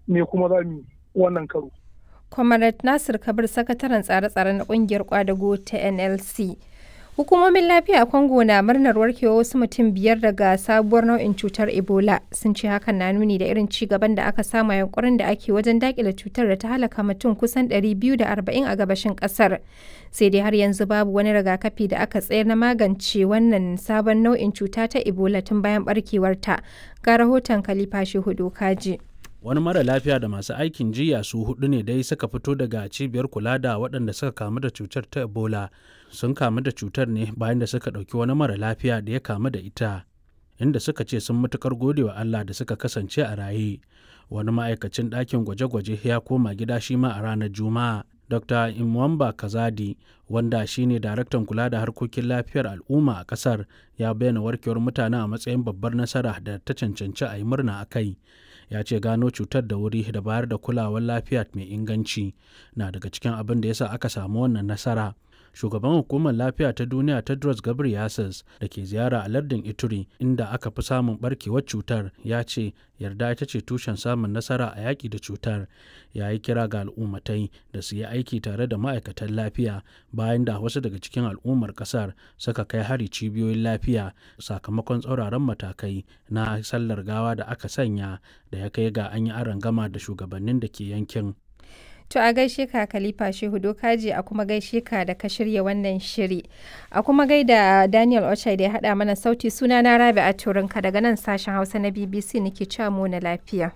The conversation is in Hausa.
Me kuma za mu wannan karo. Comrade Nasir Kabir, sakataren tsare-tsare na kungiyar kwadago ta NLC. Hukumomin lafiya a Congo na murnar warkewa wasu mutum 5 daga sabuwar nau'in cutar Ebola. Sun ce hakan na nuni da irin ci gaban da aka samu a yunkurin da ake wajen dakile cutar da ta halaka mutum kusan 240 a gabashin kasar. Sai dai har yanzu babu wani rigakafi da aka tsayar na magance wannan sabon nau'in cuta ta Ebola tun bayan barkewarta. Ga rahoton Khalifa Shehu Dokaji. Wani mara lafiya da masu aikin jiya su hudu ne dai suka fito daga cibiyar kula da waɗanda suka kamu da cutar ta Ebola. Sun kamu da cutar ne bayan da suka ɗauki wani mara lafiya da ya kamu da ita, inda suka ce sun matukar gode wa Allah da suka kasance a raye. Wani ma'aikacin ɗakin gwaje-gwaje ya koma gida shi ma a ranar Juma'a. Dr. Imwamba Kazadi, wanda shine daraktan kula da harkokin lafiyar al'umma a kasar, ya bayyana warkewar mutane a matsayin babbar nasara da ta cancanci a yi murna a kai. Ya ce gano cutar da wuri da bayar da kulawar lafiya mai inganci na daga cikin abin da yasa aka samu wannan nasara. Shugaban hukumar lafiya ta duniya Tedros Ghebreyesus da ke ziyara a lardin Ituri, inda aka fi samun barkewar cutar, ya ce yarda ita ce tushen samun nasara a yaƙi da cutar. Ya yi kira ga al'ummatai da su yi aiki tare da ma'aikatan lafiya bayan da wasu daga cikin al'ummar ƙasar suka kai hari cibiyoyin lafiya sakamakon tsauraran matakai na sallar gawa da aka sanya da ya kai ga an yi arangama da shugabannin da ke yankin. To a gaishe ka, Khalifa Shehu Dokaji, a kuma gaishe ka da ka shirya wannan shiri. A kuma gaida Daniel Ochai da ya haɗa mana sauti. Suna na Rabi'a Turinka daga nan sashen Hausa na BBC nake cewa mu na lafiya.